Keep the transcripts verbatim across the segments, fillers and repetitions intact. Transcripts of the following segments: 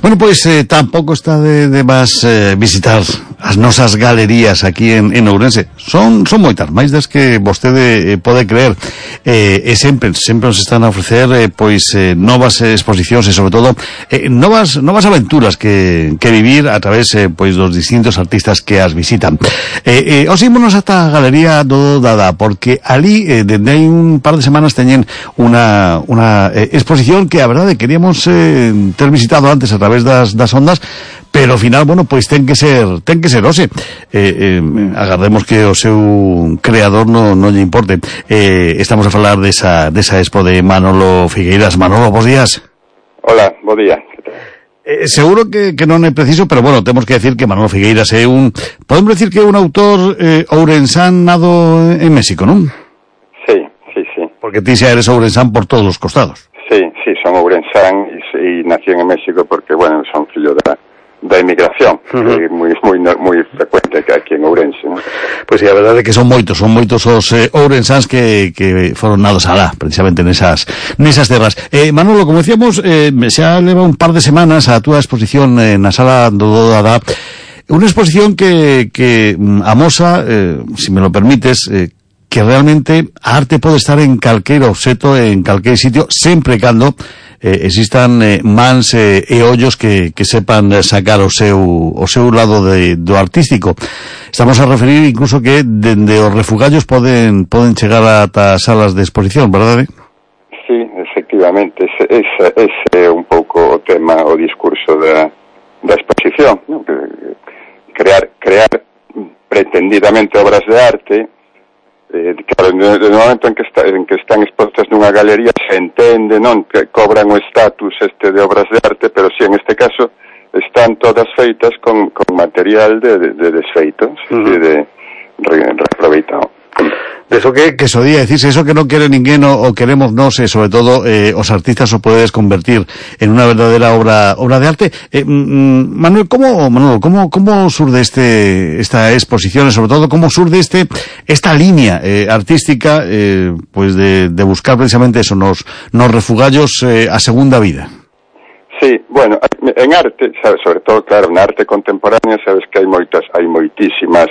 Bueno, pois eh, tampouco está de, de más eh, visitar as nosas galerías aquí en, en Ourense. Son son moitas, máis das que vostede eh, pode creer. Eh, e sempre, sempre nos están a ofrecer eh, pois eh, novas exposicións e sobre todo eh, novas novas aventuras que, que vivir a través eh, pois dos distintos artistas que as visitan. Eh, eh, os ímonos ata a Galería do Dada, porque ali eh, dende hai un par de semanas teñen unha, unha eh, exposición que a verdade queríamos eh, ter visitado antes a través das, das ondas, pero ao final, bueno, pois ten que ser ten que ser hoxe. Eh, eh, agardemos que o seu creador non no lle importe. Eh, estamos a falar desa, desa expo de Manolo Figueiras. Manolo, bons días. Hola, bo día. Eh, seguro que, que non é preciso, pero bueno, temos que decir que Manolo Figueiras é un... Podemos decir que é un autor eh, ourensán nado en México, non? Sí, sí, sí. Porque ti xa eres ourensán por todos os costados. Sí, sí, son ourensán e, e nací en México porque, bueno, son fillo da, da inmigración, uh-huh. que é moi, moi, moi frecuente que aquí en Ourense, ¿no? Pois sí, a verdade é que son moitos, son moitos os eh, ourensáns que, que foron nados alá, precisamente nesas nesas terras. Eh, Manolo, como decíamos, eh, xa leva un par de semanas a túa exposición eh, na sala do Dada, unha exposición que, que amosa, eh, se si me lo permites, eh, que realmente a arte pode estar en calquer obxeto, en calquer sitio, sempre e cando eh, existan eh, mans eh, e ollos que, que sepan sacar o seu, o seu lado de, do artístico. Estamos a referir incluso que dende os refugallos poden poden chegar ata salas de exposición, verdade? Sí, efectivamente, ese, ese, ese é un pouco o tema, o discurso da, da exposición, ¿no? Crear, crear pretendidamente obras de arte. Eh, claro, no, no momento en que, está, en que están expostas nunha galería se entende, non, que cobran o estatus este de obras de arte, pero si sí, en este caso están todas feitas con, con material de, de, de desfeito, uh-huh. de, de re, reaproveitado. De eso que, que eso día, decirse, eso que non quere ninguén o, o queremos nos, e sobre todo eh, os artistas o podedes convertir en unha verdadera obra obra de arte. Eh, mm, Manuel, como Manuel, como como surde este esta exposición e sobre todo como surde este esta línea eh, artística eh, pues de, de buscar precisamente eso nos nos refugallos eh, a segunda vida? Sí, bueno, en arte, sabes, sobre todo claro, en arte contemporánea sabes que hai moitas, hai moitísimas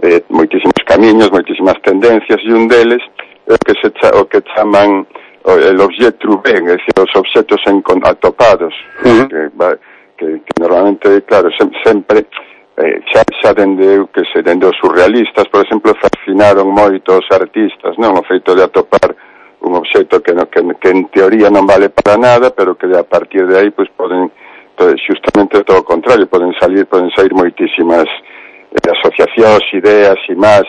Eh, moitísimos camiños, moitísimas tendencias, e un deles é o que se cha, o que chaman o, el objet trouvé, é dicir, os obxetos atopados, uh-huh. que, que, que normalmente, claro, se, sempre eh, xa, xa dende que se dende os surrealistas, por exemplo, fascinaron moito os artistas, non, o feito de atopar un obxeto que, no, que, que en teoría non vale para nada, pero que a partir de aí pues poden, pues, justamente todo o contrario, poden salir, poden sair moitísimas de asociacións, ideas e máis.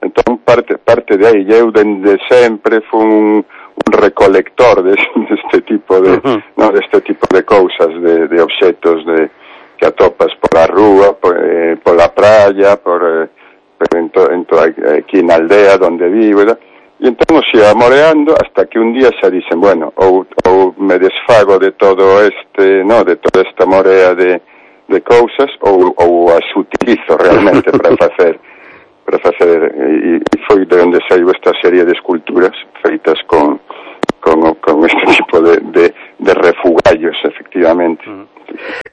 Entón, parte, parte de aí, eu dende sempre fui un, un recolector deste de tipo de, uh-huh. no, deste tipo de cousas, de, de obxetos de, que atopas pola rúa, por, eh, pola praia, por, eh, en to, en to, aquí na aldea onde vivo, e entón os ia moreando hasta que un día xa dicen, bueno, ou, ou me desfago de todo este, no, de toda esta morea de de cousas ou, ou as utilizo realmente para facer para facer e, e foi de onde saiu esta serie de esculturas feitas con con, con este tipo de, de, de refugallos, efectivamente. Uh-huh.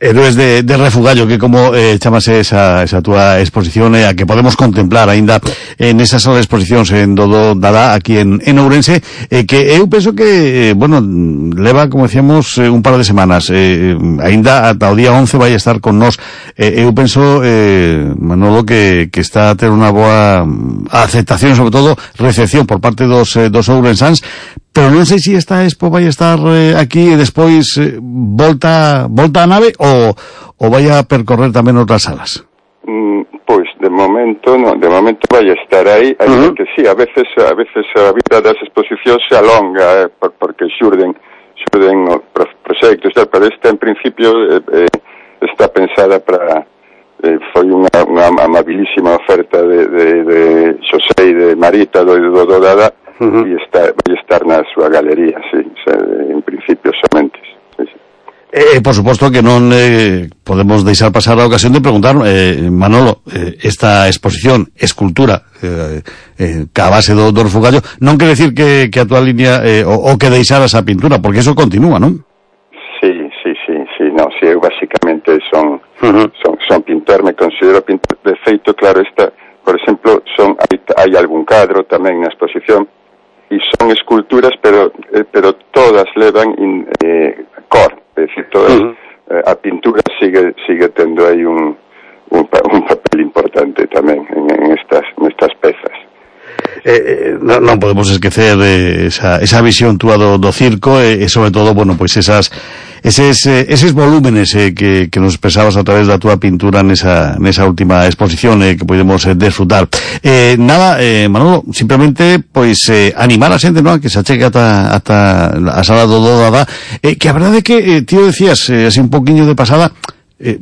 Héroes de, de refugallo, que como eh, chamase esa, esa túa exposición eh, a que podemos contemplar aínda en esa sala de exposicións en Dodo Dada aquí en, en Ourense, eh, que eu penso que, eh, bueno, leva, como decíamos, eh, un par de semanas, eh, aínda ata o día once vai estar con nós. Eh, eu penso, eh, Manolo, que, que está a ter unha boa aceptación, sobre todo recepción por parte dos, eh, dos ourensáns, pero non sei se esta expo vai estar eh, aquí e despois eh, volta volta a nave ou, ou vai a percorrer tamén outras salas. Mm, pois de momento non, de momento vai a estar aí, aí uh-huh. que sí, a veces a veces a vida das exposicións se alonga, eh, por, porque xurden xurden proxectos, pero esta en principio eh, eh, está pensada para eh, foi unha, unha amabilísima oferta de, de, de Xosé e de Marita do Dodo Dada. Uh-huh. E está, vai estar na súa galería, sí, o sea, en principio somente. Sí, sí. Eh, por suposto que non eh, podemos deixar pasar a ocasión de preguntar, eh, Manolo, eh, esta exposición, escultura, eh, eh, ca base do, do refugallo, non quere decir que, que a túa línea, eh, o, o que deixaras a pintura, porque eso continúa, non? Sí, sí, sí, sí, no, sí, eu basicamente son, uh-huh. son, son pintor, me considero pintor, de feito, claro, esta, por exemplo, son, hai, hai algún cadro tamén na exposición, e son esculturas, pero, eh, pero todas levan in, eh, cor, é dicir, todas, uh-huh. eh, a pintura sigue, sigue tendo aí un, un, un papel importante tamén en, en estas, en estas pezas. Eh, non, non podemos esquecer eh, esa, esa visión túa do, do circo e eh, sobre todo, bueno, pois pues esas eses, eh, eses volúmenes eh, que, que nos expresabas a través da túa pintura nesa, nesa última exposición eh, que podemos eh, desfrutar. Eh, nada, eh, Manolo, simplemente pois eh, animar a xente, non, que se achegue ata, ata a sala do Dodada, eh, que a verdade é que, eh, tío, decías, eh, así un poquinho de pasada, Eh,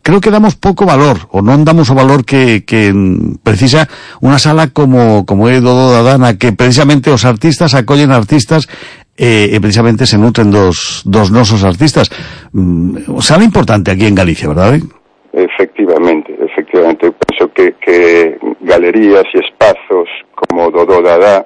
creo que damos pouco valor, ou non damos o valor que, que precisa unha sala como, como é do Dodada, na que precisamente os artistas acollen artistas e, e precisamente se nutren dos, dos nosos artistas. Mm, sala importante aquí en Galicia, verdade? Efectivamente, efectivamente. Eu penso que, que galerías e espazos como do Dodada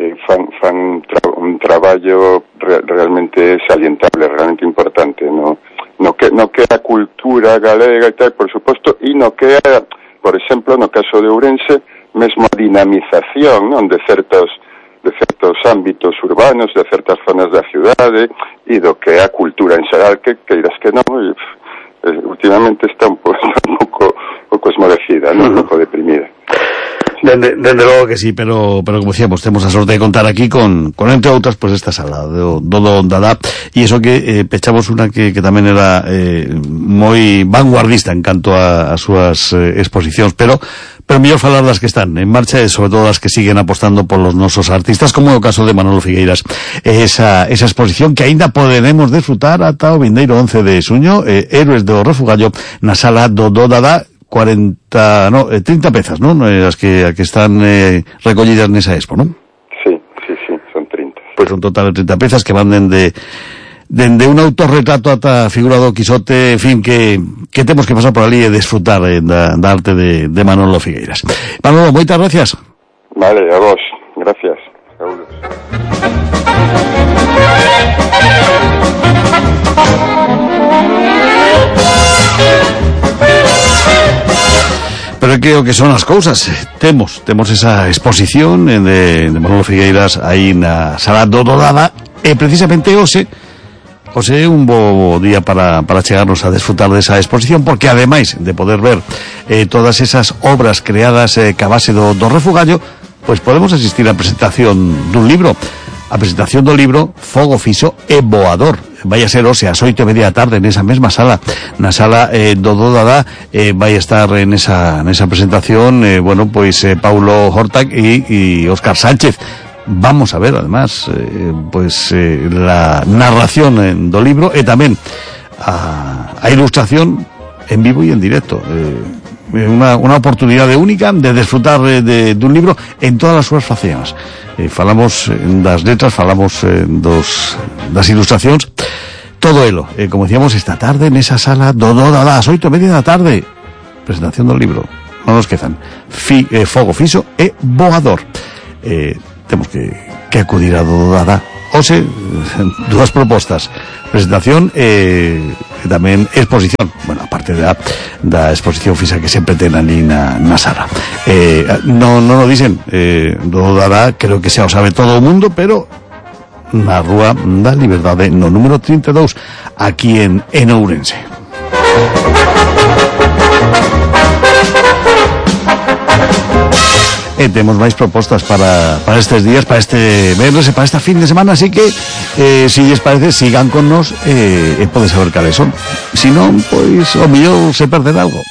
eh, fan, fan un, tra un traballo re realmente salientable, realmente importante, ¿no? no que no que a cultura galega e tal, por suposto, e no que é, por exemplo, no caso de Ourense, mesmo a dinamización, non, de certos de certos ámbitos urbanos, de certas zonas da cidade, e do que é a cultura en xeral, que queiras que non, e, eh, últimamente está un pouco un pouco, un pouco esmorecida, non, un pouco deprimida. Dende, dende logo que sí, pero pero como decíamos, temos a sorte de contar aquí con, con entre outras, pues esta sala do Dodada, e iso que eh, pechamos unha que, que tamén era eh, moi vanguardista en canto a, a súas eh, exposicións, pero pero mellor falar das que están en marcha e sobre todo das que siguen apostando polos nosos artistas, como é o caso de Manolo Figueiras. Esa, esa exposición que aínda poderemos disfrutar ata o vindeiro once de xuño, eh, Héroes do Refugallo, na sala do Dodada, cuarenta, no, eh, trinta pezas, ¿no? As que, a que están eh, recollidas nesa expo, ¿no? Sí, sí, sí, son trinta. Pois pues un total de trinta pezas que van dende dende un autorretrato ata a figura do Quijote, en fin, que, que temos que pasar por ali e desfrutar eh, da, da arte de, de Manolo Figueiras. Manolo, moitas gracias. Vale, a vos, gracias. Saúdos. Pero creo que son as cousas. Temos, temos esa exposición de, de Manolo Figueiras aí na sala do Dodada, e precisamente hoxe hoxe é un bo día para, para chegarnos a desfrutar desa exposición, porque ademais de poder ver eh, todas esas obras creadas eh, ca base do, do refugallo, pois podemos asistir á presentación dun libro, a presentación do libro Fogo Fixo e Voador. Vai a ser hoxe ás oito e media da tarde nesa mesma sala, na sala eh, do Dodada, eh, vai estar nesa, nesa presentación, eh, bueno, pois eh, Paulo Hortag e, e Óscar Sánchez. Vamos a ver, además, eh, pois eh, la narración eh, do libro e tamén a, a ilustración en vivo e en directo. Eh, unha, unha oportunidade única de desfrutar eh, de, dun libro en todas as súas faceas. Eh, falamos das letras, falamos eh, dos, das ilustracións, todo elo, eh, como decíamos, esta tarde nesa sala do Dodada, ás oito e media da tarde, presentación do libro, non nos quezan, Fi, eh, Fogo Fixo e Voador. Eh, temos que, que acudir a Dodada. Ose, dúas propostas, presentación e eh, tamén exposición, bueno, aparte da, da exposición fixa que sempre ten ali na, na sala. Eh, non no lo dicen, eh, Dodada creo que xa o sabe todo o mundo, pero na Rúa da Liberdade, no número trinta e dous, aquí en, en Ourense. E temos máis propostas para, para estes días, para este venres e para esta fin de semana, así que eh, si lles parece, sigan con nos e eh, eh, pode saber cales son. Si non, pois o mellor se perderá algo.